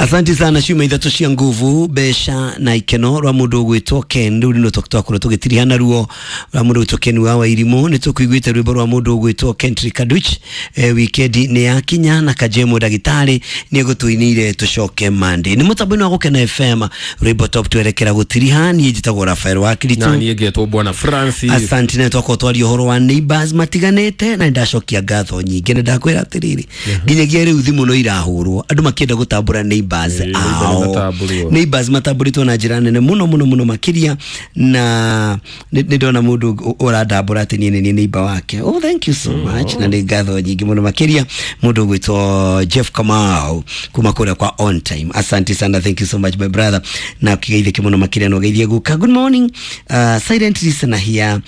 Asante sana ciuma ithatũ cia nguvu mbeca na ikeno rwa mũndũ ũgwĩtwo Ken rĩu nĩ twakorwo tũgĩtirihana ruo rwa mũndũ ũgwĩtwo Ken wa Wairimũ. Nĩ tũkũiguĩte rwĩmbo rwa mũndũ ũgwĩtwo Kentry Kaduch. Wikendi nĩ yakinya na Kajemo ndagĩtarĩ nĩ egũtũinĩire tũcoke Monday. Nĩ mũtambo-inĩ wa Gũkena FM rwĩmbo top twerekera gũtiriha. Niĩ njĩtagwo Rafael wa Na Kiritu. niĩ ngetwo Bwana Francis. Asante na twakorwo twaria ũhoro wa neighbors matiganĩte na nĩndacokia ngatho nyingĩ na ndakwĩra atĩrĩrĩ, nginyagia rĩu thimũ no irahũrwo andũ makĩenda gũtambũra neighbors neighbor ao. nĩmatambũrwo. Neighbors matambũrĩtwo na njĩra nene mũno mũno mũno makĩria, na nĩ ndona mũndũ ũrandambũra atĩ niĩ nĩ niĩ neighbor wake. Oh, thank you so much, na nĩ ngatho nyingĩ mũno makĩria mũndũ ũgwĩtwo Jeff Kamau kuma kũrĩa kwa On Time. Asante sana, thank you so much my brother, na kĩgeithĩke mũno makĩria na ũgeithie guka. Good morning, silent listener here.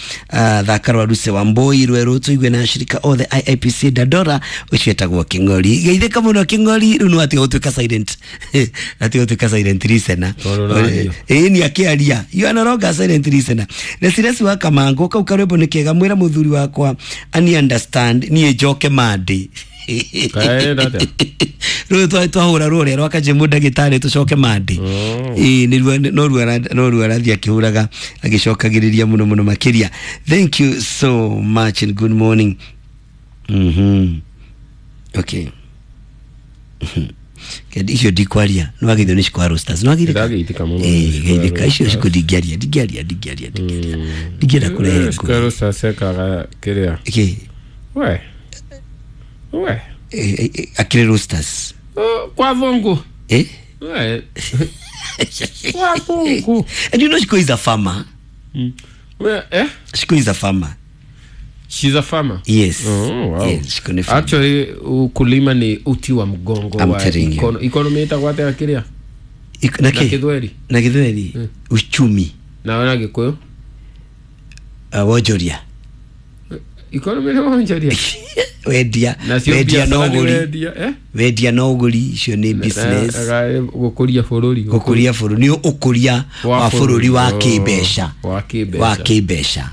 Thaka rwa Ruse wa Mboi rwerũ tũigue na shirika othe IIPC Dandora ũcio etagwo Kĩng'ori. Geithĩka mũno Kĩng'ori, rĩu nĩ watiga gũtuĩka silent, atiga gũtuĩka silent listener. Tondũ ũraria. Ĩĩ ni akĩaria, you are no longer silent listener. Resiresi wa Kamango kau karwĩmbo nĩ kega, mwĩra mũthuri wakwa ani understand niĩ njoke Monday. Kaenda atĩa? Rũrũ twahũra rũrĩa rwa Kajemu ndagĩtarĩ tũcoke Monday. Ĩĩ nĩruo no ruo arathiĩ akĩhũraga agĩcokagĩrĩria mũno mũno makĩria. Thank you so much and good morning. Okay. Kendi icio ndikwaria nĩ wageithio nĩ Shikwa Roasters, nĩ wageithĩka? Ndĩrageithĩka mũno nĩ Ĩĩ, Shikwa geithĩka icio Roasters. ciko ndingĩaria ndingĩaria ndingĩaria ndingĩaria ndingĩenda kũrehe ngũĩ. Shikwa Roasters ekaga kĩrĩa Kĩ? we we Akĩrĩ Roasters. Oh, kwa vungu. Eh? We kwa vungu. And you know Shiko is a farmer. We eh. Shiko is a farmer. She's a farmer. Yes. Oh, wow. Yes, Shiko ni farmer. Actually ukulima ni uti wa mgongo I'm wa telling you. Economy ĩtagwo atĩa kĩrĩa? Na Na kĩ? Gĩthweri. Na Gĩthweri uchumi. Na na Gĩkũyũ. Wonjoria. Economy nĩ wonjoria. Wendia. Nacio Wendia na biacara nĩ ũgũri. wendia, eh? Wendia na ũgũri icio nĩ business. Gũkũria bũrũri. Gũkũria bũrũri nĩ ũkũria wa bũrũri wa kĩmbeca. Wa kĩmbeca. Wa kĩmbeca.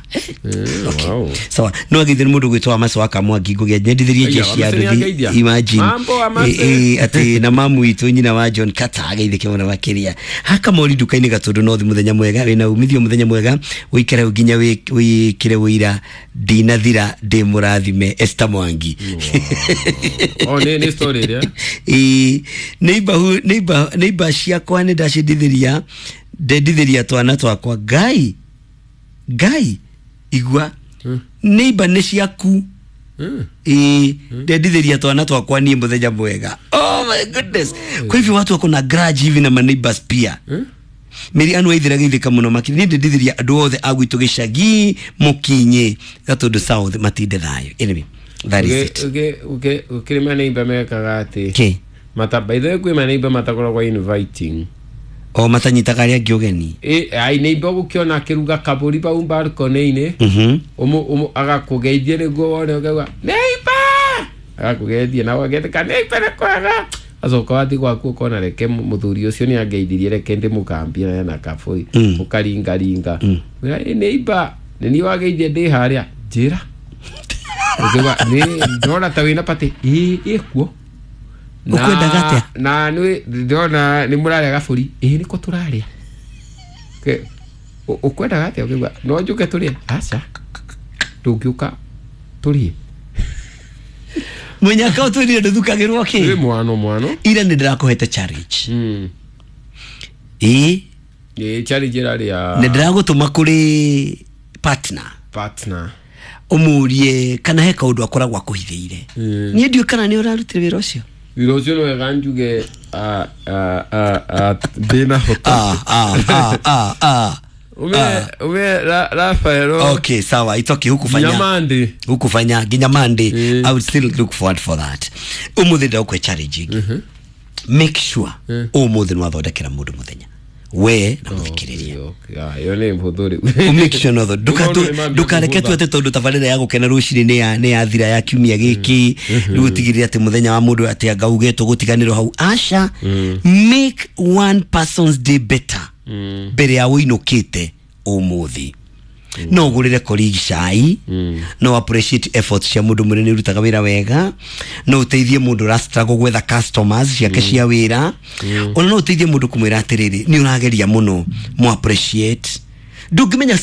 Okay. Wow. Sawa, no agithire mũndũ gwĩtwo Wamace wa Kamwangi ngũgĩa nyendithirie Aya, jeshi ya Wamace nduthi. nĩangeithia. Imagine. Mambo, Wamace. Atĩ na mamu witũ nyina wa John Carter ageithĩke mũno makĩria. Hakamori nduka-inĩ Gatũndũ North, mũthenya mwega wĩna umithio, mũthenya mwega ũikare hau nginya wĩkĩre wĩira ndinathira ndĩ mũrathime Esther Mwangi. Oh, nĩ story ĩrĩa. Ĩĩ, neighbor ciakwa nĩ ndacendithĩria ndendithĩria twana twakwa. Ngai Ngai igua, neighbor nĩ ciaku. Ĩĩ, ndendithĩria twana twakwa niĩ mũthenya mwega. Oh my goodness, kwa hivyo watu wako na grudge hivi na maneighbors pia. Mĩri anu aithira geithĩka mũno makĩria niĩ ndendithĩria andũ othe a gwitũ gĩcagi mũkinyi Gatũndũ South matinde thayũ. Anyway, that is it. Gũkĩrĩ maneiba mekaga atĩ Kĩ? mata by the way kwĩ maneiba matakoragwo inviting. O matanyitaga arĩa angĩ ũgeni. Ai neiba ũgũkĩona akĩruga kabũri bau balcony-inĩ, agakũgeithia nĩguo wone ũkauga neiba, agakũgeithia na ũgagetĩka neiba nĩ kwega, acoka wathiĩ gwaku ũkona reke mũthuri ũcio nĩ angeithirie reke ndĩmũkambie na ena kabũri, ũkaringaringa. Wĩra, "Ĩ, neiba nĩ niĩ wageithia ndĩ harĩa njĩra." Ũkiuga nĩ ndona ta wĩna patĩ ĩ ĩkuo. Ũkwendaga atĩa? Na nĩ ndĩrona nĩ mũrarĩa gabũri. Ĩ nĩko tũrarĩa. Ũkwendaga atĩa? Ũkiuga no njũke tũrĩe. Aca, ndũngĩũka tũrĩe. Mũnyaka ũtwĩrire ndũthukagĩrwo Ĩ kĩ mwano mwano. Ira nĩ ndĩrakũhete challenge. Ĩ. Ĩ challenge ĩrarĩ ya Nĩ ndĩragũtũma kũrĩ partner. Partner. Ũmũrie kana he kaũndũ akoragwo akũhithĩire. Niĩ ndiũĩ kana nĩ ũrarutire wĩra ũcio. Wĩra ũcio nĩ wega njuge ndĩna hota. Ah, ah, ah, ah, ah. Ume Rafaelo. Okay, sawa, it's okay, hukufanya. Nyamandi. Hukufanya nginya Monday. I would still look forward for that. Ũmũthĩ ndagũkwe challenge ĩngĩ. Make sure ũmũthĩ nĩ wathondekera mũndũ mũthenya we na mũthikĩrĩria. Ĩyo nĩ hũthũ rĩu. Make sure no Maũndũ nĩ mambia ndukareke tu kũhũtha. atĩ tondũ tabarĩra ya gũkena rũcinĩ nĩ yathira ya kiumia gĩkĩ rĩu ũtigĩrĩre atĩ mũthenya wa mũndũ atĩ anga uge tũgũtiganĩrwo hau. Aca, make one person's day better mbere ya ũinũkĩte ũmũthĩ. No ũgũrĩre colleague cai, no appreciate efforts cia mũndũ mwĩrĩ nĩ ũrutaga wĩra wega, no ũteithie mũndũ ũra struggle gwetha customers ciake cia wĩra, ona no ũteithie mũndũ kũmwĩra atĩrĩrĩ, nĩ ũrageria mũno, mo appreciate. Ndũngĩmenya.